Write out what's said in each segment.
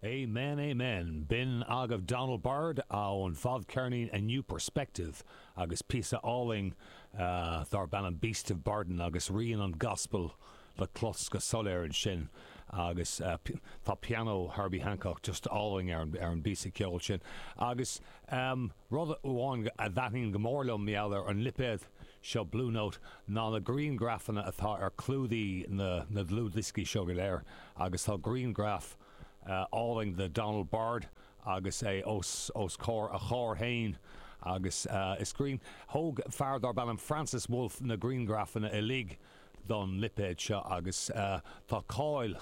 Amen Amen. B'in agaibh Donald Byrd ón bhfadcheirnín A New Perspective agus píosa álainn darb ainm Beast of Burden agus rian an gospel le clos go soiléir ansin agus tá pianó Herbie Hancock just álainn ar an bpíosa ceoil sin. Agus rud amháin a thaitníonn go mór liom mar gheall ar an lipéad seo Blue Note ná na grianghrafanna atá ar clúdaí na ndlúthdhioscaí seo go léir agus tá grianghraf álainn de Donald Byrd agus é os os comhair a chairr féin agus is grian thóg fear darb ainm Francis Wolff na grianghrafanna uilig don lipéad seo agus tá cáil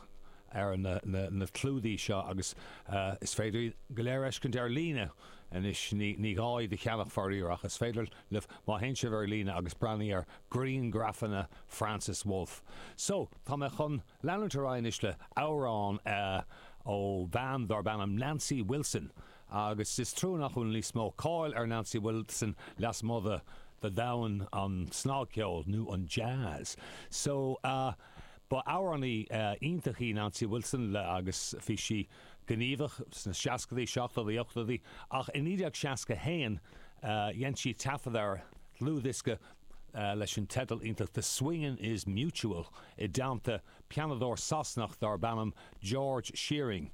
ar na na clúdaí seo agus is féidir iad go léir a fheiscint ar líne anois ní ní gá iad a cheannach faraor ach is féidir libh má théann sibh ar líne agus breathnaigh ar grianghrafanna Francis Wolff. So tá mé chun leanúint ar aghaidh anois le amhrán ó bhean darb ainm Nancy Wilson agus is trua nach bhfuil níos mó cáil ar Nancy Wilson lasmuigh de de dhomhan an snagcheoil nó an jazz. So ba amhránaí iontach í Nancy Wilson le agus bhí sí gníomhach sna seascadaí, seachtóidí, ochtóidí ach i 1961 dhein sí taifead ar dhlúthdhiosca leis an teideal iontach The Swingin' Is Mutual i dteannta pianadóir Sasanach darb ainm George Shearing.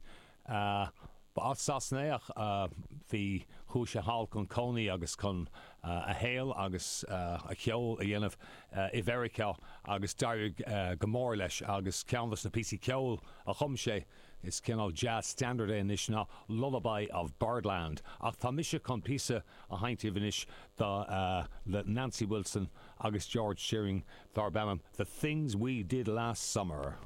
Ba as Sasana é ach bhí, chuaigh sé thall chun cónaí agus chun a shaol agus a cheol a dhéanamh i Mheiriceá agus d'éirigh go mór leis agus ceann dos na píosaí ceoil a chum sé, is cineál jazz standard é anois ná Lullaby of Birdland. Ach tá mise chun píosa a sheinnt daoibh anois do le Nancy Wilson agus George Shearing darb ainm The Things We Did Last Summer.